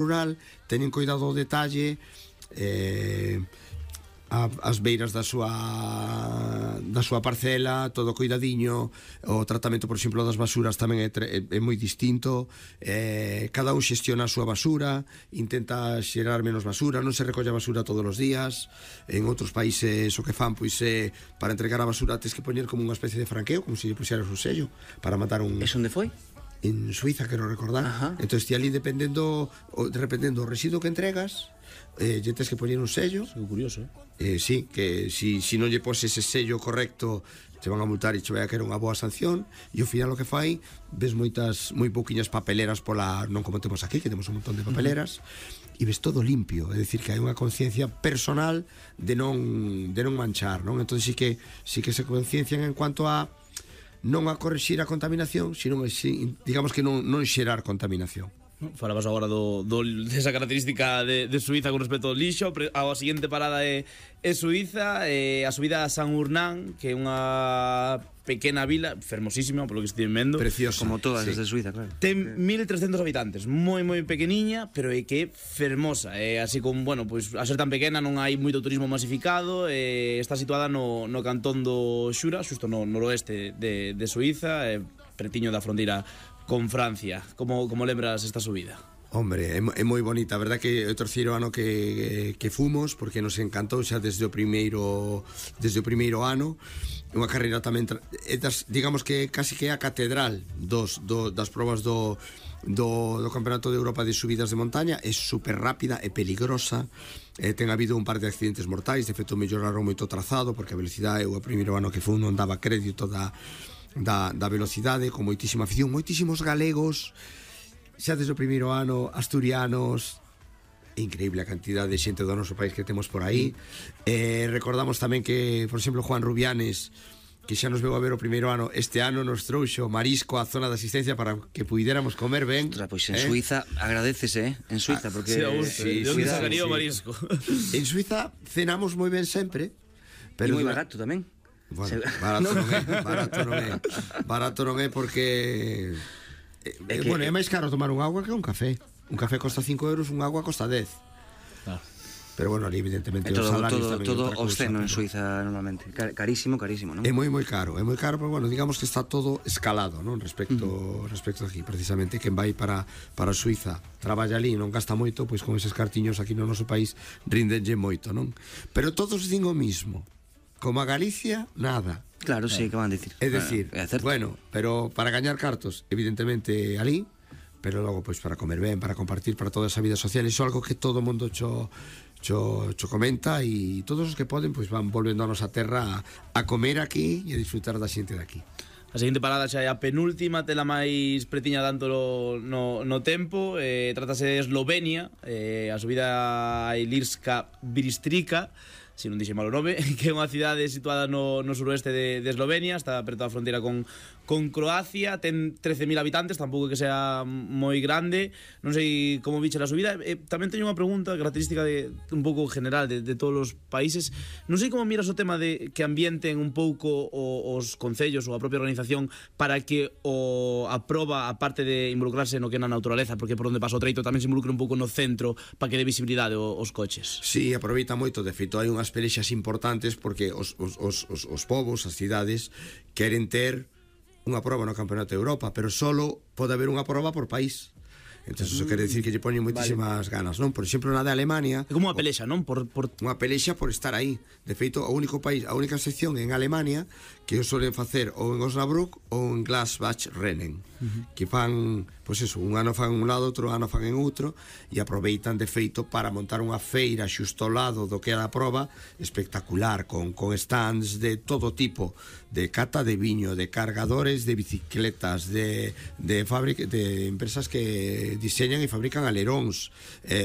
rural, teñen cuidado ao detalle, as beiras da súa parcela, todo cuidadiño. O tratamento, por exemplo, das basuras tamén é moi distinto. Cada un xestiona a súa basura, intenta xerar menos basura, non se recolle a basura todos os días. En outros países o que fan, pois é, para entregar a basura tens que poñer como unha especie de franqueo, como se lle puxeras un sello para matar un... Eso onde foi? En Suiza, quero recordar. Entón, ti ali dependendo do residuo que entregas, lle tens que poñer un sello. É curioso, sí, que si non lle poses ese sello correcto, te van a multar e che vai a querer unha boa sanción. E ao final o que fai, ves moi pouquiñas papeleras pola, non como temos aquí, que temos un montón de papeleras, e ves todo limpio, é dicir, que hai unha conciencia personal de non manchar, non? Entón sí que se conciencian en cuanto a non a corrixir a contaminación, sino, digamos que non xerar contaminación. Falabas agora desa característica de Suiza con respecto ao lixo. A seguinte parada é Suiza, a subida a San Urnán, que é unha pequena vila fermosísima, polo que estive vendo, preciosa, como todas as de Suiza, claro. Ten 1300 habitantes, moi pequeniña, pero é que é fermosa. Así como, bueno, pois a ser tan pequena non hai moito turismo masificado. Está situada no cantón do Xura, xusto no noroeste de Suiza, pretiño da fronteira con Francia. Como lembras esta subida? Hombre, é moi bonita, a verdad que é o terceiro ano que fomos, porque nos encantou xa desde o primeiro ano. Unha carreira tamén digamos que casi que é a catedral das probas do Campeonato de Europa de subidas de montaña. É super rápida, é peligrosa, ten habido un par de accidentes mortais. De feito, melloraron moito o trazado, porque a velocidade, o primeiro ano que fun non daba crédito da velocidade, con moitísima afición, moitísimos galegos xa desde o primeiro ano, asturianos. Increíble a cantidad de xente do noso país que temos por aí. Recordamos tamén que, por exemplo, Juan Rubianes, que xa nos veu a ver o primeiro ano, este ano nos trouxo marisco á zona de asistencia para que puidéramos comer ben. Pois en Suiza agradecese, en Suiza, porque de onde sacaría o marisco? En Suiza cenamos moi ben sempre, pero moi barato tamén. Bueno, barato non é porque bueno, é máis caro tomar un agua que un café. Un café costa 5 euros, un agua costa 10. Pero bueno, ali evidentemente os salarios tamén todo obsceno en Suiza normalmente. Carísimo, non? É moi caro, pero bueno, digamos que está todo escalado, non? Respecto aquí, precisamente, quen vai para Suiza, traballa ali, non gasta moito, pois con eses cartiños aquí no noso país rindenlle moito, non? Pero todos din o mismo. Como a Galicia, nada. Claro, sí, que van a dicir. É dicir, bueno, pero para gañar cartos, evidentemente ali, pero logo pois para comer ben, para compartir, para toda esa vida social. Iso é algo que todo o mundo cho comenta, e todos os que poden pois van volvendo a nosa terra a comer aquí e a disfrutar da xente de aquí. A seguinte parada xa é a penúltima, tela máis pretiña tanto no tempo. Trátase de Eslovenia, a subida a Ilirska Bistrica, se non dixe mal o nome, que é unha cidade situada no suroeste de Eslovenia, está perto da fronteira con Croacia, ten 13.000 habitantes, tampouco que sea moi grande. Non sei como viche a subida. Tamén teño unha pregunta característica un pouco general de todos os países. Non sei como miras o tema de que ambienten un pouco os concellos ou a propia organización para que a proba, aparte de involucrarse no que é na naturaleza, porque por onde pasa o treito, tamén se involucre un pouco no centro para que dé visibilidade os coches. Sí, aproveita moito, de feito hai unhas pelexas importantes porque os povos, as cidades queren ter unha proba no Campeonato de Europa, pero solo pode haber unha proba por país. Entón, eso quere decir que lle poñen moitísimas ganas, non? Por exemplo, na de Alemania é como unha pelexa, non? Unha pelexa por estar aí. De feito, o único país, a única sección en Alemania que o solen facer ou en Osnabrück ou en Glasbach-Rennen, que fan, pois eso, un ano fan en un lado, outro ano fan en outro, e aproveitan de feito para montar unha feira xusto ao lado do que é a proba, espectacular, con stands de todo tipo, de cata de viño, de cargadores de bicicletas, de empresas que diseñan e fabrican aleróns,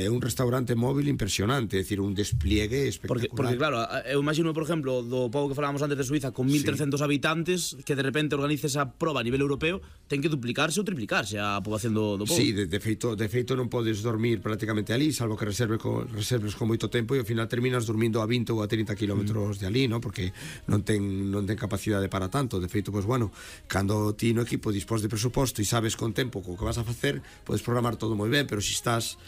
un restaurante móvil impresionante, é dicir, un despliegue espectacular. Porque claro, eu imagino, por exemplo, do pobo que falábamos antes de Suiza, con 1.300 habitantes, que de repente organice esa proba a nivel europeo, ten que duplicarse ou triplicarse a poboación poboación do pobo. Sí, de feito non podes dormir prácticamente ali, salvo que reserves con moito tempo, e ao final terminas dormindo a 20 ou a 30 kilómetros de ali, ¿no? Porque non ten capacidade para tanto. De feito, pues bueno, cando ti no equipo dispós de presuposto e sabes con tempo co que vas a facer, podes programar todo moi ben, pero se estás